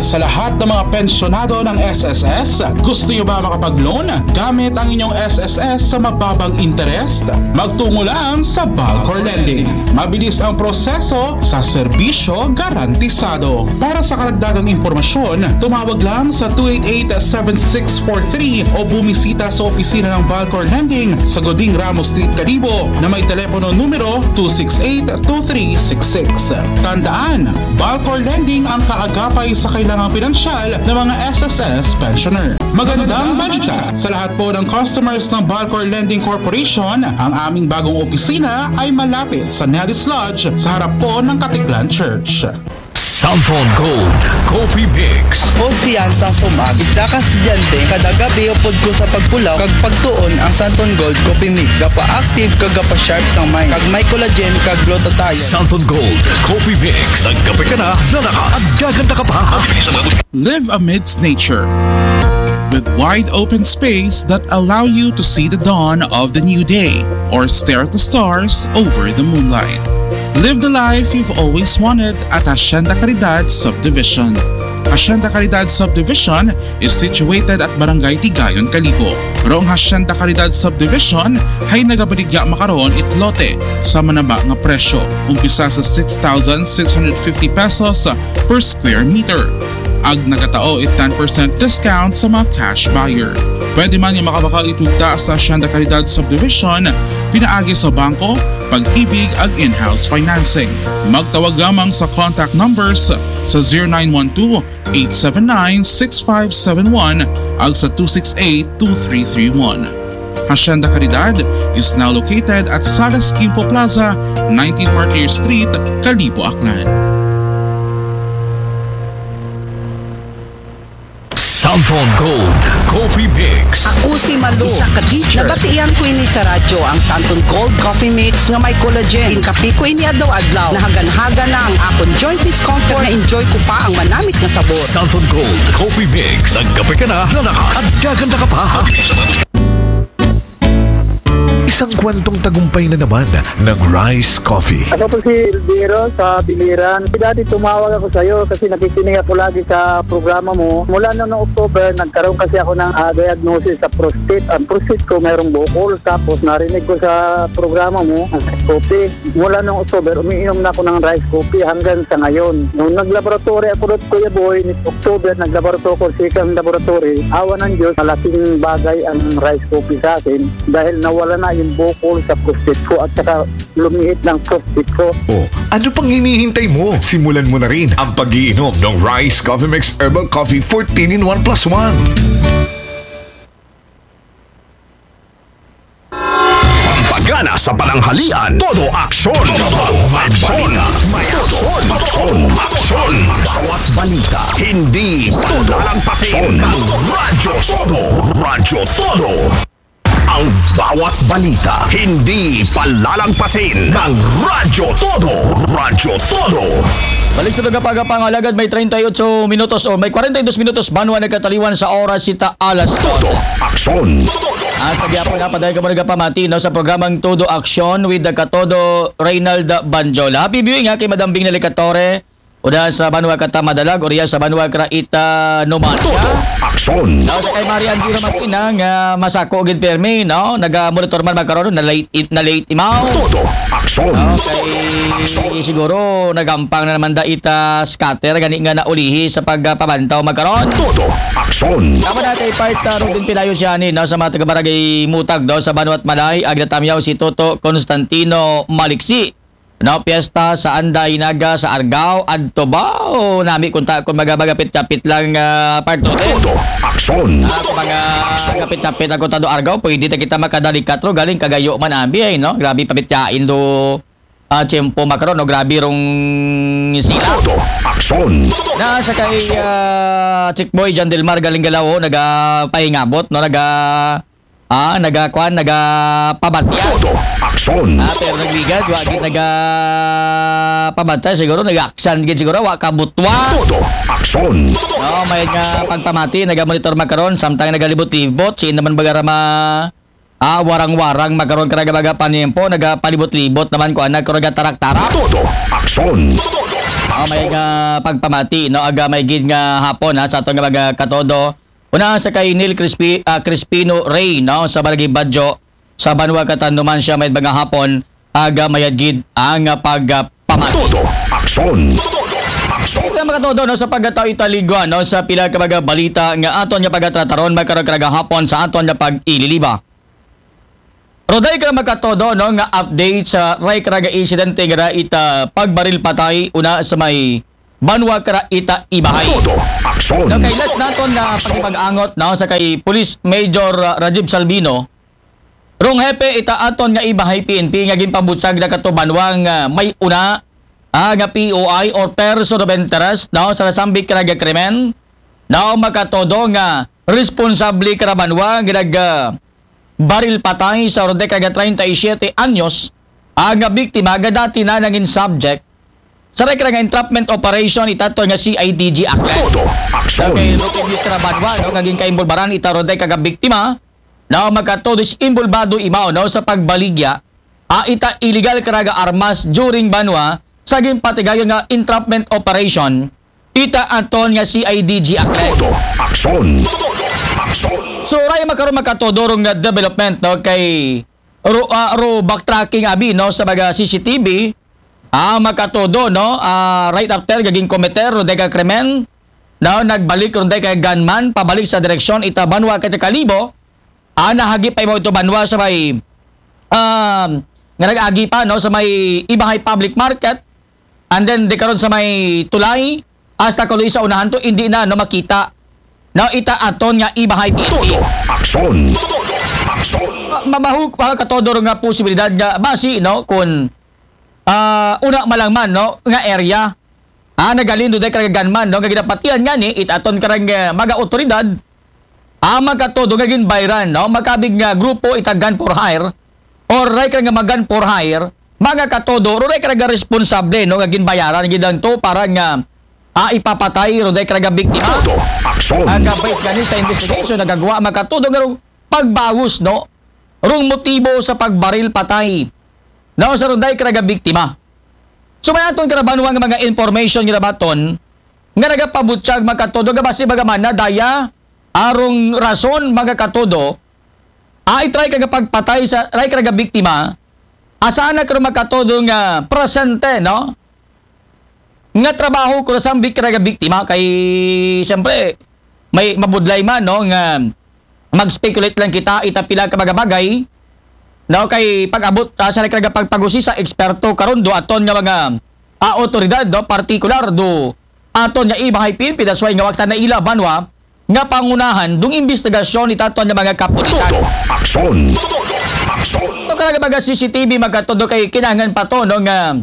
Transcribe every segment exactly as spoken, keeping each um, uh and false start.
Sa lahat ng mga pensyonado ng S S S, gusto nyo ba makapag-loan gamit ang inyong S S S sa mababang interest? Magtungo lang sa Balcor Lending. Mabilis ang proseso sa serbisyo garantisado. Para sa karagdagang impormasyon, tumawag lang sa two eight eight, seven six four three o bumisita sa opisina ng Balcor Lending sa Goding Ramos Street, Kalibo na may telepono numero two six eight, two three six six. Tandaan, Balcor Lending ang kaagapay sa kailangang pinansyal ng mga S S S pensioner. Magandang balita! Sa lahat po ng customers ng Balcor Lending Corporation, ang aming bagong opisina ay malapit sa Nellis Lodge sa harap po ng Katiklan Church. Santon Gold Coffee Mix. Ako si Yansang Sumag, isa ka estudyante. Kada gabi upod ko sa pagpulaw kag pagtuon ang Santon Gold Coffee Mix. Gapa-active kag gapa-sharp sang mind. Kag may collagen kag glutathione. Santon Gold Coffee Mix. Nagkape ka na, lalakas at gaganda ka pa. Live amidst nature with wide open space that allow you to see the dawn of the new day or stare at the stars over the moonlight. Live the life you've always wanted at Hacienda Caridad Subdivision. Hacienda Caridad Subdivision is situated at Barangay Tigayon, Kalibo. Rong Hacienda Caridad Subdivision ay nagabaligya makaron it lote sa manaba nga presyo, umpisa sa six thousand six hundred fifty pesos per square meter. Ag nagatao it ten percent discount sa mga cash buyer. Pwede man nga makabakal itugta sa Hacienda Caridad Subdivision pinaagi sa bangko, pag-ibig ag in-house financing. Magtawag lamang sa contact numbers sa zero nine one two, eight seven nine, six five seven one ag sa two six eight, two three three one. Hacienda Caridad is now located at Salas Quimpo Plaza, nineteen Martyr Street, Kalibo, Aklan. Santon Gold Coffee Mix. Ako si Malu, isa ka teacher. Nabatian ko ini sa radyo, ang Santon Gold Coffee Mix nga may collagen. Inkape ko ini adlaw-adlaw. Nahagan-hagan na ang akon joint discomfort. Na-enjoy ko pa ang manamit nga sabor. Santon Gold Coffee Mix. Nagkape ka na, lalakas at gaganda ka pa. Isang kwentong tagumpay na naman ng Rice Coffee. Ako po si Elviro sa Biliran. Dati tumawag ako sa iyo kasi nakikinig ako lagi sa programa mo. Mula noong October, nagkaroon kasi ako ng ah, diagnosis sa prostate. Ang prostate ko mayroong bukol. Tapos narinig ko sa programa mo, ang Rice Coffee. Mula noong October, umiinom na ako ng Rice Coffee hanggang sa ngayon. Nung naglaboratory ako doon, Kuya Boy, ni October, naglaboratory ako, second laboratory. Awa ng Diyos, malaking bagay ang Rice Coffee sa akin dahil nawala na yung bukol sa prostate ko at saka lumihit ng prostate ko. O, ano pang hinihintay mo? Simulan mo na rin ang pag-iinom ng Rice Coffee Mix Herbal Coffee fourteen in one plus one. Pampagana sa pananghalian, todo aksyon. Todo aksyon. May aksyon. Todo aksyon. Bawat balita, hindi todo lang pasin. Radyo Todo. Radyo Todo. Ang bawat balita, hindi palalagpasin ng Radyo Todo. Radyo Todo. Balik sa tagapagapang alagad, may treinta y ocho minutos o may kwarenta y dos minutos banwa nagkataliwan sa oras sita alas Todo aksyon. At sa gihapon na, padayon kamo nagapamati, no, sa programang Todo Aksyon with the Katodo Reynald Banjola. Happy viewing ha kay Madam Bing Nalicatore. Uda sa banwa kata Madalag, uriya sa banwa kara ita Numancia. Todo aksyon. Daw sa kay Mari Andira Martina nga masako gid permi, no? Naga-monitor man makaron, na late, na late imaw. Todo aksyon. Okay, siguro nagampang na naman da ita scatter gani nga naulihi sa pagpabantaw makaron. Todo aksyon. Tama na kay part uh, Rodin Pilayo siya ni, no, sa mga taga-barangay Mutag, no, sa Banwat Malay, agnatamyaw si Toto Constantino Maliksi. No, piyesta sa Anday Naga sa Argao, adto ba? O nami kunta kung magapit-kapit lang uh, part two. Todo aksyon. Uh, kung mga kapit-kapit ang kontado Argao, pwede ta kita makadali katro galing kagayo man abi ay, no? Grabe pabityain do uh, tiyempo makaron, no? Grabe rong sila. Todo aksyon. Na sa kay uh, Chick Boy John Del Mar galing Galawo, nagapahingabot, no? Naga Ah, nagakuan, nagapabatya. Todo aksyon. Ah, pero nagligad, wa gid nagapabatya siguro, nag-action gid siguro, wa kabutwa. Todo aksyon. No, may nga pagpamati, nagamonitor makaron, samtang nagalibot-libot, si naman bagarama ah, warang-warang makaron ka nagabaga panimpo, nagapalibot-libot naman ko anak ko nagatarak-tarak. Todo aksyon. Ah, may nga pagpamati, no, aga may gid nga hapon, ha, sa aton nga mga katodo. Una sa kay Neil Crispi, ah, Crispino Rey, no, sa Barangay Badjo, sa Banwa Katanduman siya may mga hapon, aga mayad gid ang, ah, pagpamati. Todo aksyon. Aksyon. Sa mga katodo, no, sa pagkatao italigwa, no, sa pila ka mga balita nga aton nga pagatrataron, magkaroon ka hapon sa aton nga pag-ililiba. Roday ka makatodo, no, nga update sa ray ka nga insidente nga ita pagbaril patay una sa may Banwa ka ita Ibahay. Todo aksyon. No, kay let naton na pagpag-angot, no, sa kay Police Major, uh, Rajiv Salvino, rong hepe ita aton nga Ibahay P N P nga ginpabutyag na katubanwa nga may una, ah, nga P O I or person of interest, no, sa nasambit ka nga krimen, no, makatodo nga responsable ka banwa nga nag, ah, baril patay sa roday ka treinta y siete anyos, ang biktima nga dati na nangin subject sa rekla nga entrapment operation itato nga C I D G Aklan. Todo aksyon. Okay, Roque Vista Banwa, no, nga ginkaimbulbaran ita roday ka biktima, no, makatodo is imbulbado imaw, no, sa pagbaligya, ah, ita illegal ka nga armas during banwa sa ginpatigayon nga entrapment operation, ita aton nga C I D G Aklan. Todo aksyon. Aksyon. So, ray makaroon makatodo rong nga development, no, kay ro, ah, ro backtracking abi, no, sa mga C C T V, ah, makatodo, no, ah, right after gaging komiter roday ka krimen, no, nagbalik roday ka gunman pabalik sa direksyon ita banwa ka Kalibo, ah, nahagi pa imaw ito banwa sa may, um, nga nag-agi pa, no, sa may Ibahay Public Market, and then di karon sa may tulay, hasta kuloy sa unahan to, hindi na, no, makita. No, ita aton nga Ibahay P N P. Todo aksyon. Aksyon. Ma- mamahuk, makatodo nga posibilidad nga basi, no, kung, ah, una malangman, no, nga area, ah, nagalin do day ka gunman, no, nga ginapatian nga ni, ita aton karang, eh, mga otoridad, ah, makatodo nga ginbayran, no, makabig nga grupo ita gun for hire, or ray ka nga mag-gun for hire, mga katodo, ro ray ka nga responsable, no, nga ginbayaran gidang to para nga, ah, ipapatay ro day ka nga biktima. Todo aksyon. Ang base gani sa investigation, nagagawa makatodo nga rong pagbawos, no, rong motibo sa pagbaril patay, no, sa ro day ka nga biktima. So, may aton karabanwa nga mga information nga nabaton nga nagapabutyag makatodo nga basi baga man na daya arong rason makatodo, ah, itry ka nga pagpatay sa ray ka nga biktima, asa na karon makatodo nga presente, no, nga trabaho ko sa bik-, ka nga biktima kay siyempre may mabudlay man, no, nga mag-speculate lang kita ita pila ka mga bagay, no, kay pag-abot, ah, sa nagkarga pagpagusi sa eksperto karon do aton nga mga, ah, otoridad, no, partikular do aton nga Ibahay P N P, that's why nga wakta na ila banwa nga pangunahan dung investigasyon ita aton nga mga kapulisan. Todo aksyon. Aksyon. So, karang mga C C T V makatodo kay kinahanglan pa to, no, nga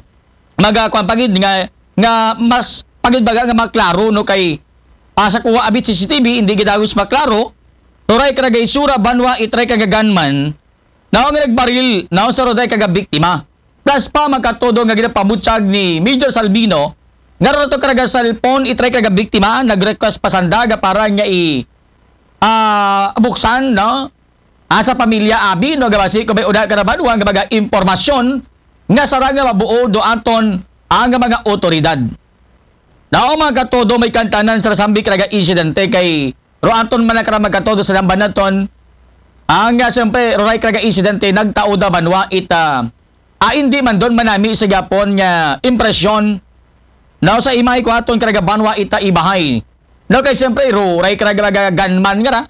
maga kwan pagid nga, nga mas pagid baga nga maklaro, no, kay, ah, sa kuha abit C C T V hindi gidawis maklaro, turay ka nga isura banwa itry ka nga gunman, no, nga nagbaril, no, sa roday ka nga biktima. Plus pa makatodo nga ginapabutyag ni Major Salvino nga ro to ka nga cellphone itry ka nga biktima, nag-request pa sanda nga para nga i, ah, buksan, no, ah, sa pamilya abi, no, gabasi ko may una ka nabanwa nga mga impormasyon nga sarang nga mabuo do aton ang mga otoridad. Nao mga katodo may kantanan sa nasambit ka nga insidente kay ro aton man ang mga katodo sa namban naton, ang, ah, siyempre, ro ray ka nga insidente nagtao da banwa ita, ah, hindi man doon manami sa gapon nga impresyon, no, sa imay ko aton ka nga banwa ita Ibahay. No, kay siyempre, ro ray ka nga gunman nga ra,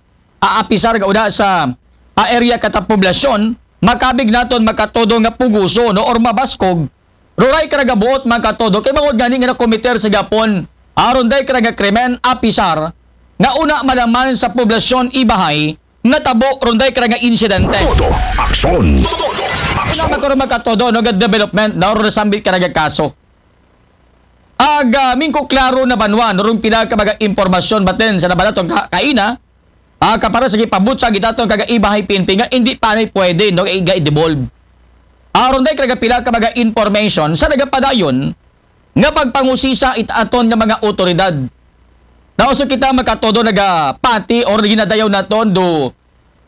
aapisar nga uda sa, ah, area kata poblasyon, makabig naton makatodo nga puguso, no, or mabaskog, ro ray ka nga buot makatodo, kay bangod gani nga nakomiter sa gapon, aron day ka nga krimen, apisar, nga una malaman sa poblasyon Ibahay, natabo ron day ka nga insidente. Todo aksyon. Una magkaroon makatodo, no, nga development, no, ro nasambit ka nga kaso. Aga, mingko klaro na banwa, no, rong pila ka mga impormasyon batin sa nabalaton ka, kaina, ah, kapara sa gipabutyag itaton ka nga Ibahay P N P nga hindi pa na pwede, no, iga i-devolve. Aron day ka pila ka mga information sa nagapadayon nga pagpangusisa it aton nga mga otoridad. Nauso kita makatodo nagapati or ginadayaw naton do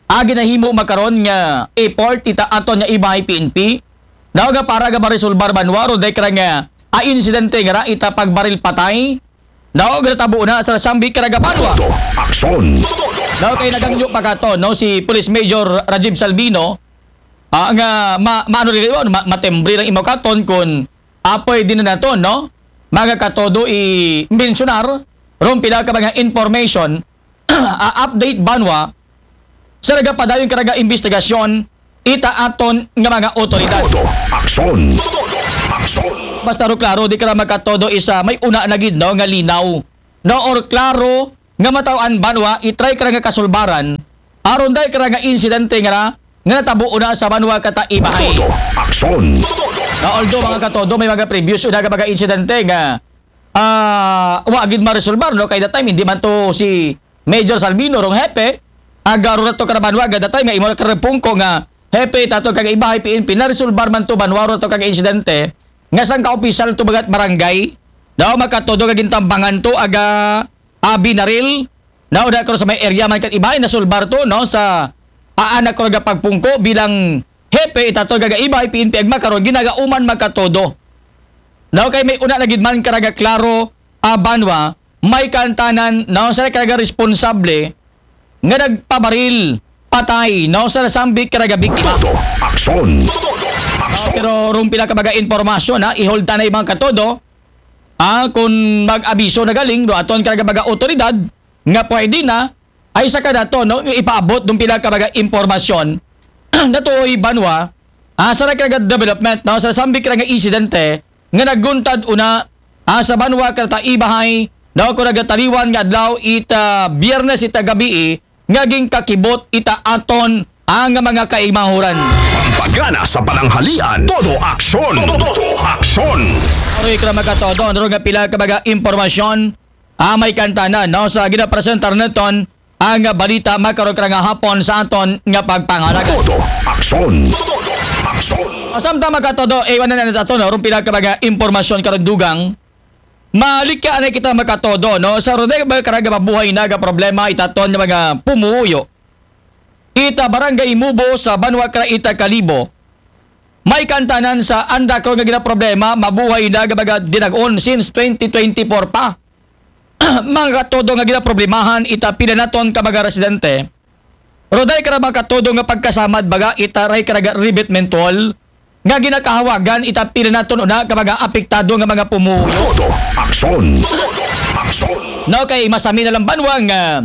agi nahimo makaron nga effort ita aton nga Ibahay P N P. Daw nga para nga maresolbar banwa ro day ka nga a insidente nga ra ita pagbaril patay, no, nga natabo na sa nasambit karaga banwa. Todo aksyon. No, kay nagangyo pa kato, no, si Police Major Rajiv Salvino, ah, nga ma, maano rin, ano, ma, matembre lang imaw katon kun, ah, pwede na nato, no, mga katodo i-mensionar rong pila ka mga information, ah, update banwa sa nagapadayon karaga investigasyon ita aton nga mga otoridad. Todo aksyon. Todo aksyon. Basta ro klaro, di kara makatodo isa may una na gid, no, nga linaw, no, or klaro nga mataw-an banwa, i-try kara nga kasulbaran aron dai kara nga insidente nga ra nga natabo una sa banwa kata Ibahay. Todo aksyon. Na although, mga katodo, may mga previous una nga mga insidente nga, ah, wa gid maresolbar, no, kay that time hindi man to si Major Salvino rong hepe, aga ro na to karabanwa, aga that time nga imo na karapungko nga hepe tato kag Ibahay P N P, naresolbar man to banwa ro to kag insidente nga sang ka opisyal to bagat barangay, no, makatodo nga gintambangan to aga, ah, binaril, no, da ko sa may area man kat Ibahay, nasolbar to, no, sa aanak ko nga pagpungko bilang hepe itato gaga Ibahay P N P agma karon ginagauman makatodo. No, kay may una na gid man karaga klaro, ah, banwa, may kantanan, no, sa karaga responsable nga nagpabaril patay, no, sa nasambit karaga biktima. Todo aksyon. Todo aksyon. Pero rong pila ka mga impormasyon, ha, i-hold ta na ibang katodo, ah, kung mag-abiso na galing do aton karaga mga otoridad nga pwede na, ay sa kanato, no, ipaabot dong pila ka mga impormasyon natuoy banwa, ah, sa nagkaraga development, no, sa nasambit karaga insidente nga naguntad una, ah, sa banwa karata Ibahay, no, kung nagataliwan nga adlaw ita Biyernes ita gabii nga ginkakibot ita aton ang mga kaimahuran. Pampagana sa pananghalian, todo aksyon. Todo aksyon. Aroy kara makatodo, ano nga pila ka mga impormasyon, ah, may kantanan, no, sa ginapresentar naton ang balita makaron kara nga hapon sa aton nga pagpangalaga. Todo aksyon. Todo aksyon. Samtang makatodo, eh, wala na nato, no, rong pila ka mga impormasyon karon dugang. Malikya na kita makatodo, no? Sa ron ba karaga mabuhay na ga problema itaton nga mga pumuyo. Ita barangay Mubo sa banwa kara ita Kalibo. May kantanan sa anda ko nga ginaproblema, mabuhay na ga mga dinagon since twenty twenty-four pa. Mga katodo nga ginaproblemahan ita pila naton ka mga residente. Roday kara mga katodo nga pagkasamad baga ita ray karaga ribit mentol nga ginakahawagan ita pila naton una ka mga apektado nga mga pumuyo. Todo aksyon. Todo aksyon. No, kay masami na lang banwa nga,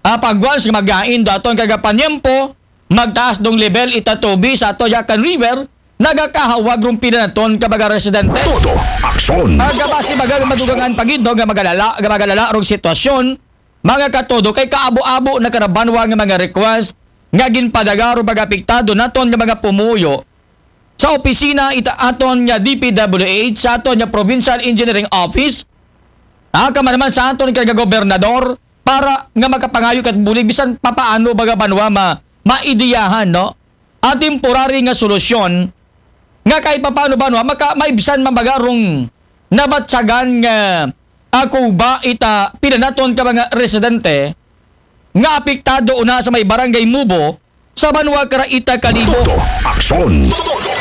ah, pag once nga magain do aton kagapanyempo, magtaas dong level ita tubi sa ato Yakan River, nagakahawag rong pila naton ka mga residente. Todo aksyon. Agabasi baga madugangan pagid, no, nga magalala, nga magalala rong sitwasyon, mga katodo, kay kaabo-abo na karabanwa nga mga request nga ginpadaga ro mga apektado naton nga mga pumuyo sa opisina ita aton nga D P W H, sa aton nga Provincial Engineering Office, ah, kama naman sa aton nga gobernador, para nga makapangayo kat bulig bisan papaano baga banwa ma maidiyahan, no, a temporary nga solusyon nga kahit papaano banwa maka maibsan man baga rong nabatsagan nga ako ba ita pila naton ka mga residente nga apektado una sa may barangay Mubo sa banwa kara ita Kalibo. Todo aksyon.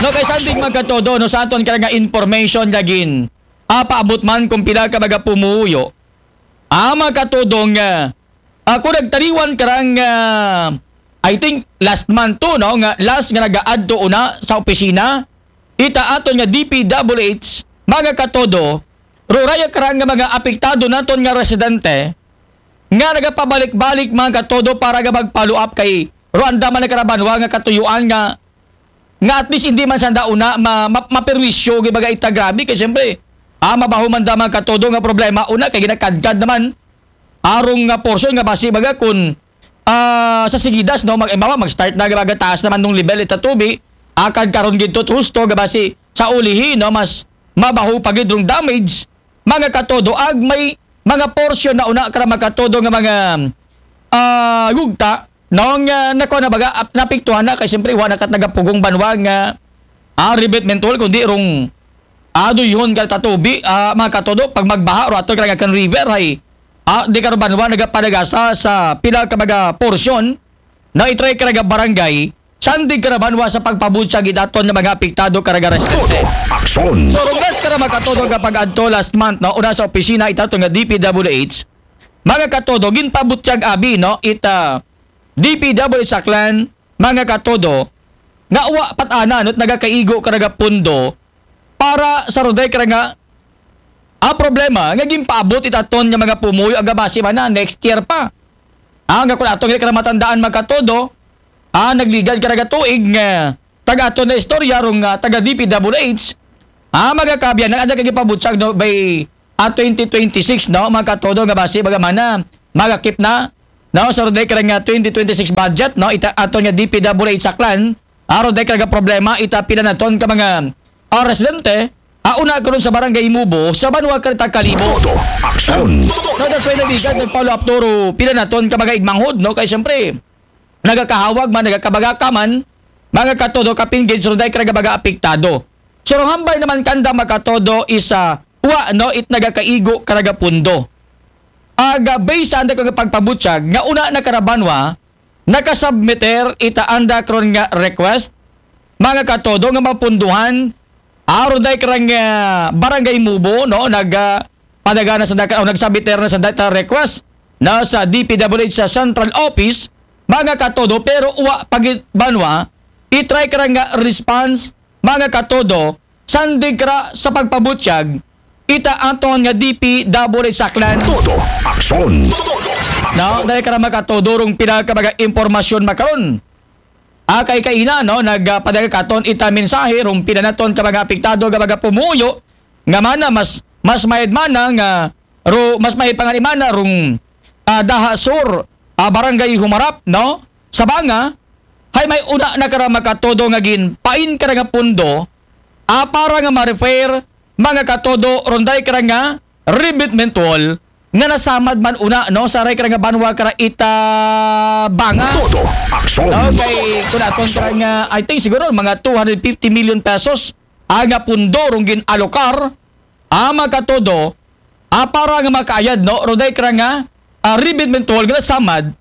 No, kay sanding magkatodo, no, sa aton kara nga information lagin, apaabot man kung pila ka mga pumuyo, ah, mga katodo nga, ah, ako nagtaliwan karang, ah, I think last month to, no, nga last nga nagaadto una sa opisina ita aton nga D P W H, mga katodo, ruraya karang nga mga apektado naton nga residente nga nagapabalik-balik, mga katodo, para nga magpaluap kay Rwanda man nagkarabanwa nga katuyuan nga nga at least hindi man sanda una ma, ma, maperwisyo, gibaga ita grabe kay siyempre, ah, mabaho man da mga katodo nga problema una kay ginakadkad naman arong nga portion nga basi baga kun, ah, sa sigidas, no, mag, mag start na gibaga taas naman nung level ita tubi, akad karon gid to husto nga basi sa ulihi, no, mas mabaho pa gid rong damage, mga katodo, ag may mga portion na una kara makatodo nga mga, ah, gugta, no, nga nakuha na baga, ap-, napiktuhan na kay siyempre wa na kat nagapugong banwa nga, ah, ribit mentol kundi rong, ah, duyhon ka tatubi, ah, mga katodo, pag magbaha ro ato kara nga kan river ay, ah, di karo banwa nagapadagasa sa pila ka mga portion na itray karaga barangay, sandig karabanwa sa pagpabunsag itaton nga mga apektado karaga residente. Todo aksyon. So, rong nga Kara makatodo nga pag-adto last month, no, una sa opisina ita to nga D P W H, mga katodo, ginpabutyag abi, no, ita D P W H Aklan, mga katodo, nga wa patana, no, nagakaigo kara nga pundo para sa roday kara nga, ah, problema nga ginpaabot itaton nga mga pumuyo aga base man na next year pa. Ah, nga kung atong kara matandaan, mga katodo, ah, nagligad kara nga tuig nga taga aton na istorya rong, ah, taga D P W H, ah, mga kaabyanan, ang nagkagipabutsag, no, by, ah, twenty twenty-six, no, mga katodo, nga base baga man na magakip na, no, sa roday kara nga twenty twenty-six budget, no, ita aton nga D P W H Aklan, ah, roday kara nga problema ita pila naton ka mga, ah, residente, ah, una karon sa barangay Mubo sa banwa kara ta Kalibo. Todo aksyon. No, that's why nabigyan ng follow-up turo pila naton ka mga igmanghod, no, kay siyempre nagakahawag man, nagakabagaka man, mga katodo, kapin gid sa roday kara nga mga apektado. So, rong hambal naman kanda, mga katodo, is, ah, wa, no, it nagakaigo kara nga pundo. Aga, based sa anda ko nga pagpabutyag, nga una na kara banwa, nakasubmiter ita anda karon nga request, mga katodo, nga mapunduhan, aron day karang, ah, barangay Mubo, no, nag, ah, padaga na sa daka, o nagsubmiter na sa data request na sa D P W H sa central office, mga katodo, pero wa pagit banwa, itry karang nga response, mga katodo, sandig kara sa pagpabutyag, ita aton nga D P W H Aklan. Todo aksyon. No, dahil kara makatodo rong pila ka mga impormasyon makaron. Ah, kay kaina, no, nagpadaga katon ita mensahe rong pila naton ka mga apektado nga mga pumuyo nga mana mas, mas mayad mana nga ro, mas mayad pa nga ni mana rong, ah, Daha Sur, ah, Barangay Humarap, no? Sa banga, hay may una na kara makatodo nga ginpain kara nga pundo, ah, para nga ma-repair, mga katodo, ronday kara nga revetment wall nga nasamad man una, no, sa ray kara nga banwa kara ita banga. Todo aksyon. Okay, kung aton kara nga, I think siguro mga two hundred fifty million pesos ang nga pundo rong gin-alokar, ah, mga katodo, ah, para nga makaayad, no, roday kara nga, ah, revetment wall nga nasamad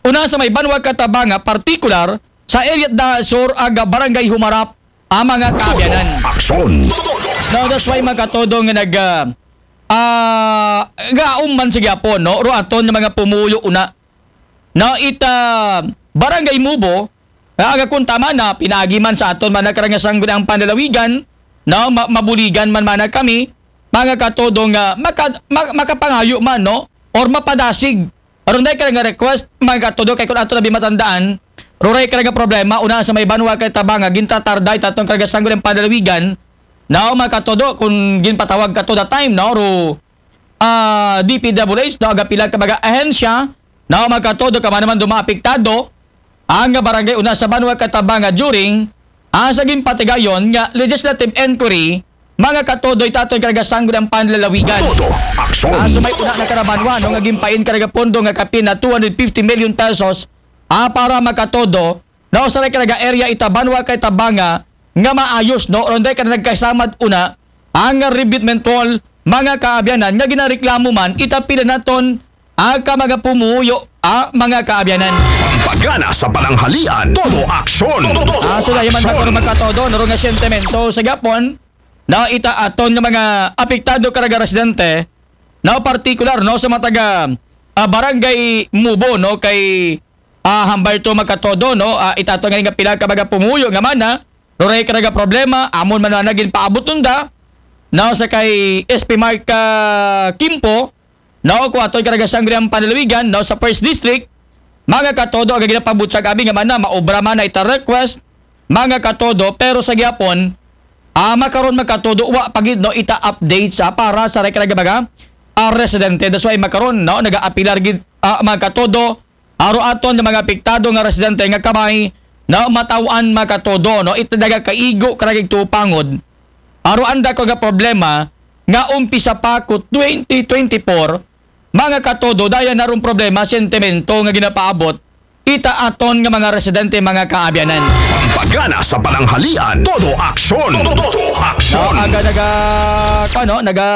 una sa may banwa kara ita banga, partikular sa area Daha Sur aga Barangay Humarap, ang mga kaabyanan. Aksyon. No, that's why, mga katodo, nga nag, ah, ah, gaom man sa gyapon, no, ro aton nga mga pumuyo una. No, ita Barangay Mubo, ah, aga kung tama na, pinagi man sa aton man na karang nga sangguniang panlalawigan, no, ma- mabuligan man mana kami, mga katodo, nga maka- ma- makapangayo man, no, or mapadasig. Aron day ka nga request, mga katodo, kay kung ato na bimatandaan, ruray ka nga problema, una sa may banwa kara ita banga, gintatarday tatong karang nga sangguniang panlalawigan, no, mga katodo, kung ginpatawag kato that time, no, ro, ah, D P W H, no, aga pila ka mga ahensya, no, mga katodo, kamo naman duma apektado, ang nga barangay una sa banwa kara ita banga during, ah, sa ginpatigayon nga legislative inquiry, mga katodo, itaton karang nga sangguniang panlalawigan. Todo aksyon. Ah, so may una na kara banwa, no, nga ginpain kara nga pondo nga kapin na two hundred fifty million pesos, ah, para makatodo, no, sa kara nga area ita banwa kara ita banga nga maayos, no, ronday kara nagkasamad una, ang revetment wall, mga kaabyanan, nga ginareklamo man ita pila naton, ah, ka mga pumuyo, ah, mga kaabyanan. Pagana sa pananghalian. Todo aksyon. Todo Ah, so dahil man aksyon. Magkaroon, mga katodo, no, nga sentimiento sa gyapon, no, ita aton nga mga apektado kara nga residente, no, partikular, no, sa mga taga, ah, barangay Mubo, no, kay, ah, hambal to, mga katodo, no, ah, ita aton nga pila ka mga pumuyo nga mana, ruray kara nga problema, amon man na ginpaabot nanda, no, sa kay S P Mark, ah, Kimpo, no, kung aton kara nga sangguniang panlalawigan, no, sa First District, mga katodo, aga ginapabutyag abi nga mana, maobra man na ita request, mga katodo, pero sa gyapon, ah, makaron, mga katodo, wa pa gid, no, ita update sa para sa ray kara nga mga, ah, residente. That's why makaron, no, nagaapilar gid, ah, mga katodo, aro aton nga mga apektado nga residente nga kamay, no, mataw-an, mga katodo, no, ita nagakaigo kara nga igtuo pangod. Aro anda ko nga problema nga umpisa pa ko twenty twenty-four, mga katodo, daya na rong problema, sentimiento nga ginapaabot ita aton nga mga residente, mga kaabyanan. Pagana sa pananghalian. Todo aksyon. Todo, todo No, aksyon. aga naga, ano, naga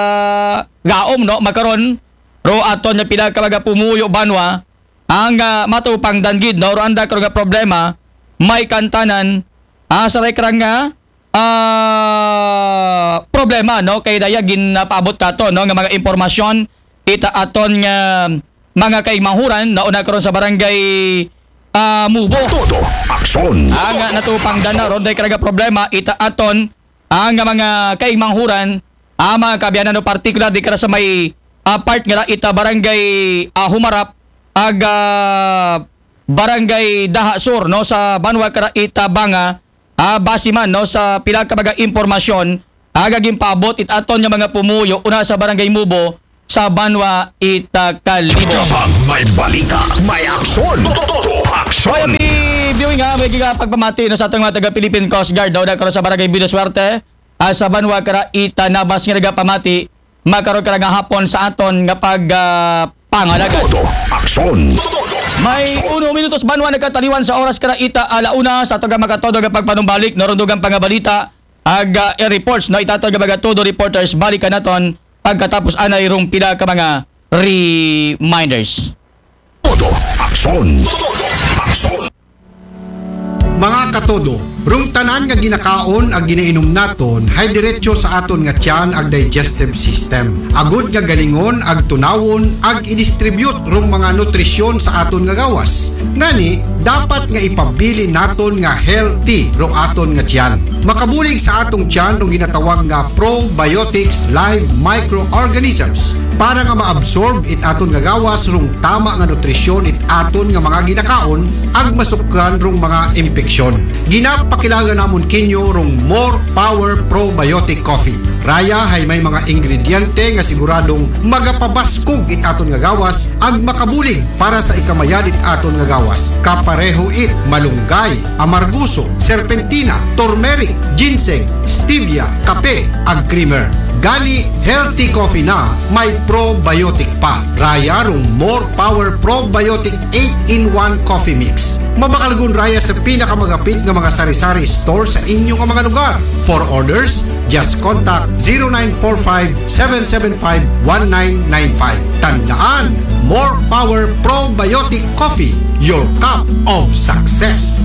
gaom, no, makaron, ro aton nga pila ka mga pumuyo banwa, ang, ah, matupang danggid, no, ro anda ko nga problema, may kantanan, ah, sa ray kara nga, ah, problema, no? Kay daya ginapaabot katon, no, nga mga impormasyon ita aton nga mga kaigmanghuran, nauna karon sa barangay, ah, Mubo. Todo aksyon. Ang, ah, natupang dana ron, dahil karaga problema ita aton ang mga kaigmanghuran, ang mga kaabyanan, no, partikular di kara sa may, ah, part nga ita barangay, ah, Humarap, ag, ah, barangay Daha Sur, no, sa banwa kara ita Banga, ah, base man, no, sa pila ka mga impormasyon, aga ginpaabot it aton nga mga pumuyo una sa barangay Mubo sa banwa ita Kalibo. Kapag may balita, may aksyon. Todo, todo aksyon. Oy, happy viewing, ha. May giga pagpamati, no, sa atong mga taga Philippine Coast Guard, no, na karon sa barangay Bidoswerte, ah, sa banwa kara ita Nabas nga nagapamati, makaron kara nga hapon sa aton nga pag, ah, pangalaga. Todo aksyon. May uno minutos banwa nagkataliwan sa oras kara ita ala una sa atong makatodo nga pagpanumbalik, no, ron dugang pangabalita, ag, ah, air reports, no, ita aton nga mga todo reporters, balikan naton pagkatapos anay rong pila ka mga reminders. Todo aksyon. Todo aksyon. Mga katodo, rong tanan nga ginakaon ag ginainom naton hay diretso sa aton nga tiyan ag digestive system. Agud nga galingon ag tunawon ag i-distribute rong mga nutrisyon sa aton nga gawas. Ngani, dapat nga ipabilin naton nga healthy rong aton nga tiyan. Makabulig sa atong tiyan rong ginatawag nga probiotics, live microorganisms, para nga maabsorb it aton nga gawas rong tama nga nutrisyon it aton nga mga ginakaon ag masukran rong mga impeksyon. Ginapakilaga namon kinyo rong More Power Probiotic Coffee. Raya hay may mga ingrediente nga siguradong magapabaskog it aton nga gawas ag makabulig para sa ikamayad it aton nga gawas. Kapareho it malunggay, amarguso, serpentina, turmeric, ginseng, stevia, kape, ag creamer. Gani, healthy coffee na may probiotic pa. Raya rong More Power Probiotic eight-in-one Coffee Mix. Mabakalgon raya sa pinakamagapit nga mga sari-sari store sa inyo nga mga lugar. For orders, just contact zero nine four five, seven seven five, one nine nine five. Tandaan, More Power Probiotic Coffee, your cup of success.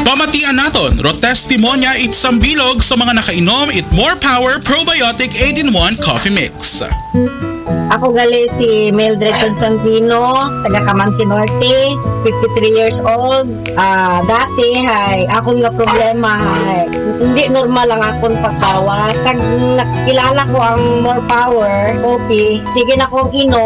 Pamatian naton, ro testimonya it sambilog sa mga nakainom it More Power Probiotic eight-in-one Coffee Mix. Ako gali si Mildred Constantino, taga Camansi Norte, fifty-three years old. Ah, dati hay, akon nga problema hay, hindi normal ang akon pagbawas. Tag nakilala ko ang More Power Coffee, sige na kong inom.